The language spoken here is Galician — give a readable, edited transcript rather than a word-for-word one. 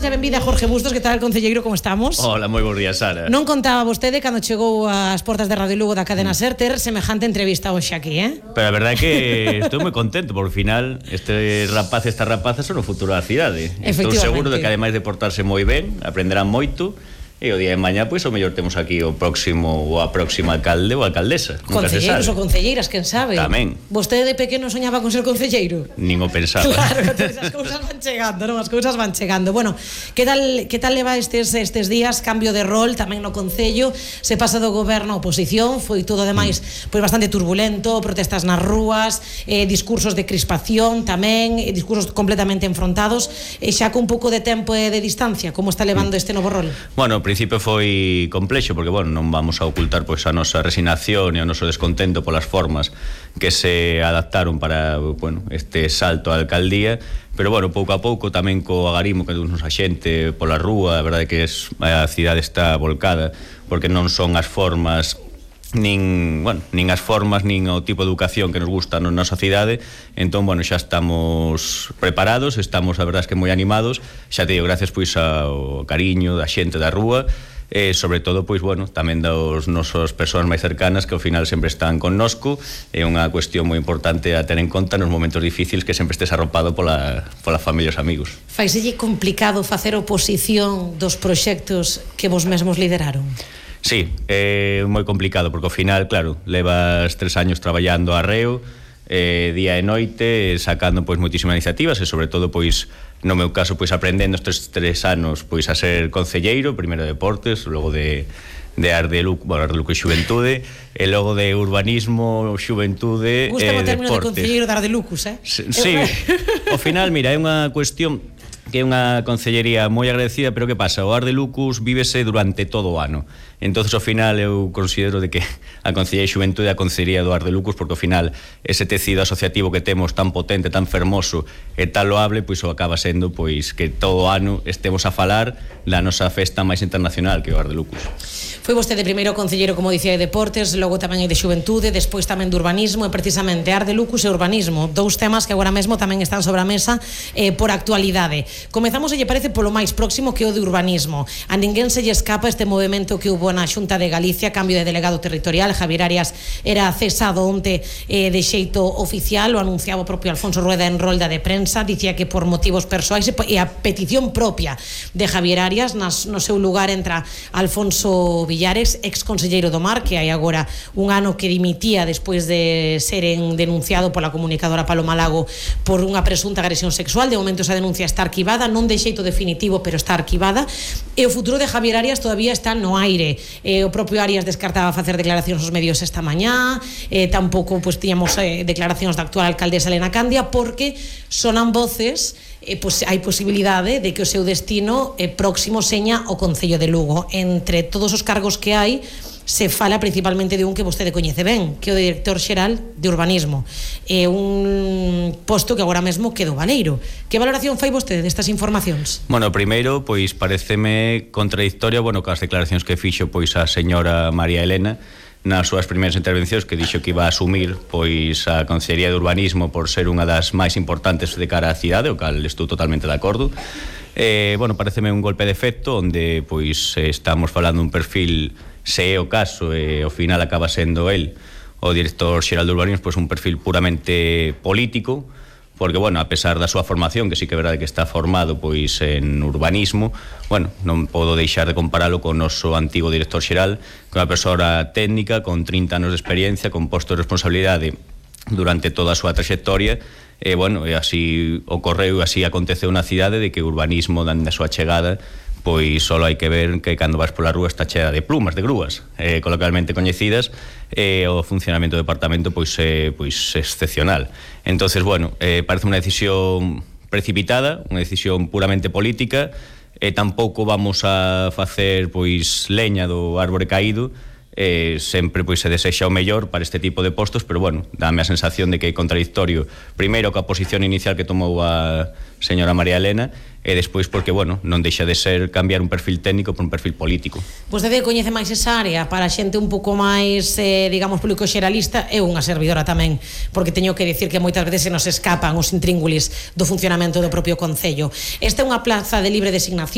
Benvida Jorge Bustos, que tal, concelleiro, como estamos? Hola, moi bons días, Sara. Non contaba vostede cando chegou ás portas de Radio Lugo da cadena SER ter semejante entrevista hoxe aquí, Pero a verdade é que estou moi contento, porque ao final este rapaz e esta rapaza son o futuro da cidade. Estou seguro de que ademais de portarse moi ben, aprenderán moito. E o día de mañá, pois, o mellor temos aquí o próximo ou a próxima alcalde ou alcaldesa. Concelleiros ou concelleiras, quen sabe? Tamén. Vostede de pequeno soñaba con ser concelleiro? Nin o pensaba. Claro, as cousas van chegando, non? As cousas van chegando. Bueno, que tal leva estes días? Cambio de rol tamén no concello, se pasa do goberno á oposición, foi todo ademais pois bastante turbulento, protestas nas rúas, discursos de crispación tamén, discursos completamente enfrontados, e xa con un pouco de tempo e de distancia, como está levando este novo rol? Bueno, ao principio foi complexo porque, bueno, non vamos a ocultar pois a nosa resignación e o noso descontento polas formas que se adaptaron para, bueno, este salto á alcaldía, pero, bueno, pouco a pouco tamén co agarimo que dunos a xente pola rúa, a verdade que a cidade está volcada, porque non son as formas nin as formas nin o tipo de educación que nos gusta na nosa cidade. Entón, bueno, xa estamos preparados, estamos, a verdade, que moi animados, xa te digo, gracias pois ao cariño da xente da rúa, e sobre todo, pois, bueno, tamén das nosas persoas máis cercanas que ao final sempre están connosco. É unha cuestión moi importante a ter en conta nos momentos difíciles, que sempre estés arropado pola familia e os amigos. Faiselle complicado facer oposición dos proxectos que vos mesmos lideraron? Sí, é moi complicado, porque ao final, claro, levas 3 años traballando arreo, día e noite, sacando pois moitísimas iniciativas, e sobre todo, pois, no meu caso, pois aprendendo estes 3 anos pois a ser concelleiro, primeiro de deportes, logo de Ardeluco e Xuventude, e logo de urbanismo, xuventude e deportes. Gusta o término de concelleiro de Ardelucus, Sí, ao final, mira, é unha cuestión que é unha concellería moi agradecida, pero que pasa? O Ardelucus vívese durante todo o ano. Entonces, ao final, eu considero de que a Concellería de Xuventude é a Concellería do Ardelucus, porque ao final ese tecido asociativo que temos tan potente, tan fermoso e tan loable, pois o acaba sendo pois que todo o ano estemos a falar da nosa festa máis internacional, que é o Ardelucus. Foi vostede primeiro concelleiro, como dicía, de deportes, logo tamén de xuventude, despois tamén de urbanismo, e precisamente Ardelucus e urbanismo, dous temas que agora mesmo tamén están sobre a mesa por actualidade. Comezamos, se lle parece, polo máis próximo, que o de urbanismo. A ninguén se lle escapa este movimento que hubo na Xunta de Galicia, cambio de delegado territorial. Javier Arias era cesado onte de xeito oficial, o anunciaba o propio Alfonso Rueda en rolda de prensa, dicía que por motivos persoais, e a petición propia de Javier Arias, no seu lugar entra Alfonso Villares, ex conselleiro do Mar, que hai agora un ano que dimitía despois de seren denunciado pola comunicadora Paloma Lago por unha presunta agresión sexual. De momento esa denuncia está arquivada, non de xeito definitivo, pero está arquivada, e o futuro de Javier Arias todavía está no aire. O propio Arias descartaba facer declaracións aos medios esta mañá, tampouco pois tiñamos declaracións da actual alcaldesa Elena Candia, porque sonan voces, pois hai posibilidade de que o seu destino próximo seña o Concello de Lugo. Entre todos os cargos que hai, se fala principalmente de un que vostede coñece ben, que é o director xeral de urbanismo, un posto que agora mesmo quedou baleiro. Que valoración fai vostede destas informacións? Bueno, primeiro, pois pareceme contradictoria, bueno, cas declaracións que fixo pois a señora María Elena nas súas primeiras intervencións, que dixo que iba a asumir pois a Consellería de Urbanismo por ser unha das máis importantes de cara á cidade, o cal estou totalmente de acordo. Bueno, pareceme un golpe de efecto onde pois estamos falando un perfil, se é o caso, e ao final acaba sendo el o director xeral de urbanismo, pois un perfil puramente político, porque, bueno, a pesar da súa formación, que sí que é verdade que está formado pois en urbanismo, bueno, non podo deixar de comparalo con o noso antigo director xeral, con unha persoa técnica con 30 anos de experiencia, con posto de responsabilidade durante toda a súa trayectoria. E, bueno, así ocorreu, así aconteceu na cidade, de que o urbanismo, dende a súa chegada, pois só hai que ver que cando vas pola rúa está chea de plumas, de grúas, coloquialmente coñecidas, e o funcionamento do departamento pois é excepcional. Entonces, bueno, parece unha decisión precipitada, unha decisión puramente política, e tampouco vamos a facer pois leña do árbore caído, sempre pois se desexa o mellor para este tipo de postos, pero bueno, dáme a sensación de que é contradictorio primeiro coa posición inicial que tomou a señora María Elena e despois porque, bueno, non deixa de ser cambiar un perfil técnico por un perfil político. Vostede coñece máis esa área para xente un pouco máis, digamos, público xeralista, é unha servidora tamén, porque teño que dicir que moitas veces se nos escapan os intríngulis do funcionamento do propio Concello. Esta é unha plaza de libre designación